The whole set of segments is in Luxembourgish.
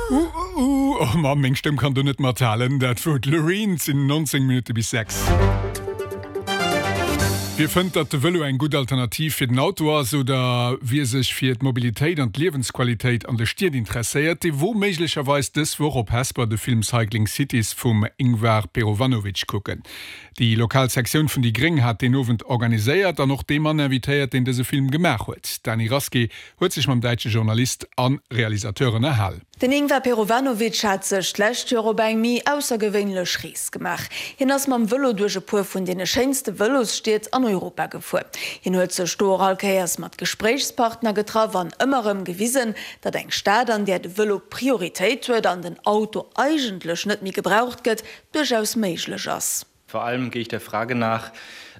Uh, oh Mann, meng Stëmm kann do net mathalen. Dat wor d'Loreen. Et sinn 19 Minutte bis 6. Wie fënnt, datt de Vëlo eng gutt Alternativ fir den Auto ass oder wie sech fir d'Mobilitéit an d'Liewensqualitéit an de Stied interesséiert, dee wor méiglecherweis dës Woch op Hesper de Film Cycling Cities vum Ingvar Perovanovic kucken. Déi lokal Sektioun vun déi Gréng hat deen Owend organiséiert an och dee Mann invitéiert, deen dëse Film gemaach huet. D'Dany Rasqué huet sech mam däitsche Journalist a Realisateur ënnerhal. Den Ingvar Perovanovic hat sech d'lescht Joer op eng méi aussergewéinlech Rees gemaach. Hien ass mam Vëlo duerch e puer vun deene schéinste Vëlosstied an Europa gefuer. Hien huet sech do och all Kéiers mat Gespréichspartner getraff an ëmmer erëm gewisen, datt eng Stad, an där de Vëlo Prioritéit huet an den Auto eigentlech net méi gebraucht gëtt, duerchaus méiglech ass. Vor allem gehe ich der Frage nach,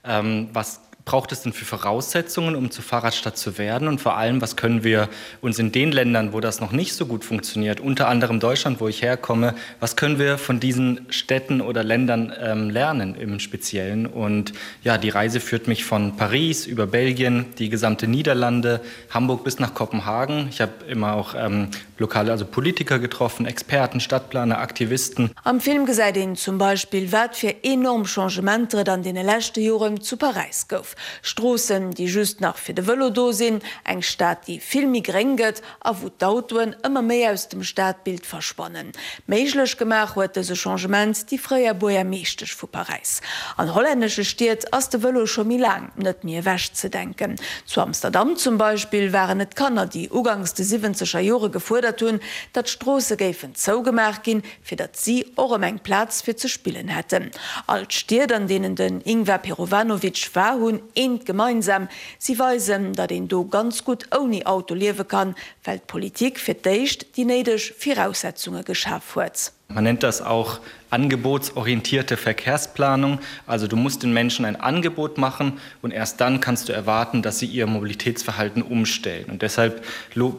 ähm, was braucht es denn für Voraussetzungen, um zur Fahrradstadt zu werden? Und vor allem, was können wir uns in den Ländern, wo das noch nicht so gut funktioniert, unter anderem Deutschland, wo ich herkomme, was können wir von diesen Städten oder Ländern ähm, lernen im Speziellen? Und ja, die Reise führt mich von Paris über Belgien, die gesamte Niederlande, Hamburg bis nach Kopenhagen. Ich habe immer auch ähm, lokale also Politiker getroffen, Experten, Stadtplaner, Aktivisten. Am Film gesäit een zum Beispill, wat fir enorm Changementer et an deene leschte Joren zu Paräis gouf. Stroossen, déi just nach fir de Vëlo do sinn, eng Stad, déi vill méi gréng gëtt a wou d'Autoen ëmmer méi aus dem Stadbild verschwannen. Méiglech gemaach huet dëse Changement déi fréier Buergermeeschtesch vu Paräis. An hollännesche Stied ass de Vëlo scho méi laang net méi ewechzedenken. Zu Amsterdam zum Beispill waren et d'Kanner, déi uganks de siwwenzeger Jore gefuerdert hunn, datt d'Stroosse géifen zougemaach ginn, fir datt si och erëm eng Plaz fir ze spillen hätten. All d'Stied, an deenen den Ingvar Perovanovic war, hunn eent gemeinsam, Si weisen, datt een do ganz gutt ouni Auto liewe kann, well d'Politik fir d'éischt déi néideg Viraussetzunge geschaf huet. Man nennt das auch angebotsorientierte Verkehrsplanung. Also du musst den Menschen ein Angebot machen und erst dann kannst du erwarten, dass sie ihr Mobilitätsverhalten umstellen. Und deshalb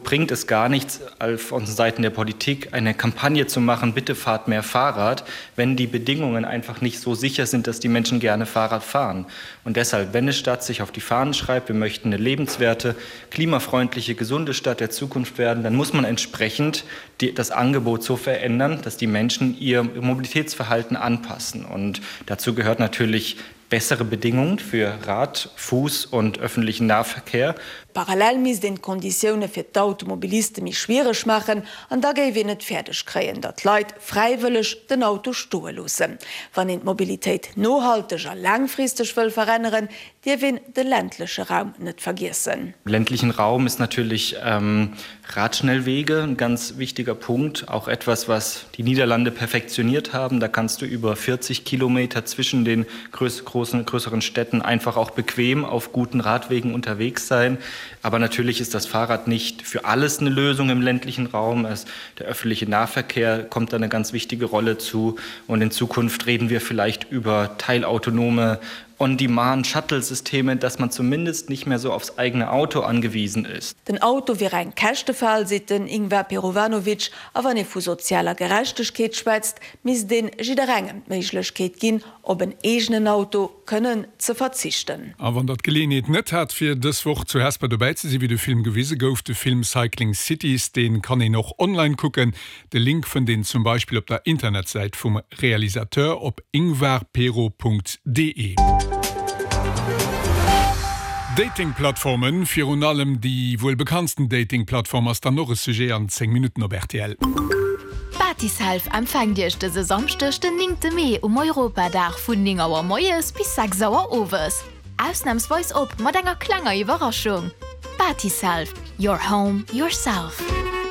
bringt es gar nichts, von Seiten der Politik eine Kampagne zu machen, bitte fahrt mehr Fahrrad, wenn die Bedingungen einfach nicht so sicher sind, dass die Menschen gerne Fahrrad fahren. Und deshalb, wenn eine Stadt sich auf die Fahnen schreibt, wir möchten eine lebenswerte, klimafreundliche, gesunde Stadt der Zukunft werden, dann muss man entsprechend die, das Angebot so verändern, dass die Menschen ihr Mobilitätsverhalten anpassen. Und dazu gehört natürlich bessere Bedingungen für Rad, Fuß und öffentlichen Nahverkehr. Parallel misst een d'Konditioune fir d'Automobiliste méi schwiereg maachen an da géif een et fäerdeg kréien, datt d'Leit fräiwëlleg den Auto stoe loossen. Wann een d'Mobilitéit nohalteg a laangfristeg wëll veränneren, dierf een de ländleche Raum net vergiessen. Im ländlichen Raum ist natürlich Radschnellwege ein ganz wichtiger Punkt, auch etwas, was die Niederlande perfektioniert haben. Da kannst du über 40 Kilometer zwischen den großen, größeren Städten einfach auch bequem auf guten Radwegen unterwegs sein. Aber natürlich ist das Fahrrad nicht für alles eine Lösung im ländlichen Raum. Es, der öffentliche Nahverkehr kommt da eine ganz wichtige Rolle zu. Und in Zukunft reden wir vielleicht über teilautonome On-Demand-Shuttle-Systeme, dass man zumindest nicht mehr so aufs eigene Auto angewiesen ist. Den Auto wier eng Käschtefal, seet den Ingvar Perovanovic. A wann ee vu sozialer Gerechtegkeet schwätzt, misst ee jidderengem d'Méiglechkeet ginn, op en eegenen Auto kënnen ze verzichten. A wann der d'Geleeënheet net hat fir dës Woch zu Hesper dobäi ze sinn, wéi de Film gewise gouf, de Film Cycling Cities, dee kann een och online kucken. De Link fënnt een zum Beispill op der Internetsäit vum Realisateur op ingvarpero.de. Datingplattformen, virun allem déi wuel bekanntsten Datingplattform ass dann och e Sujet an 10 Minutten op rtl. Batiself empfänkt Iech dëse Samschdeg den 9 Mee um Europadag vun 9 Auer moies bis 6 Auer owes. Ausnamsweis op mat enger klenger Iwwerraschung. Batiself, your home, yourself.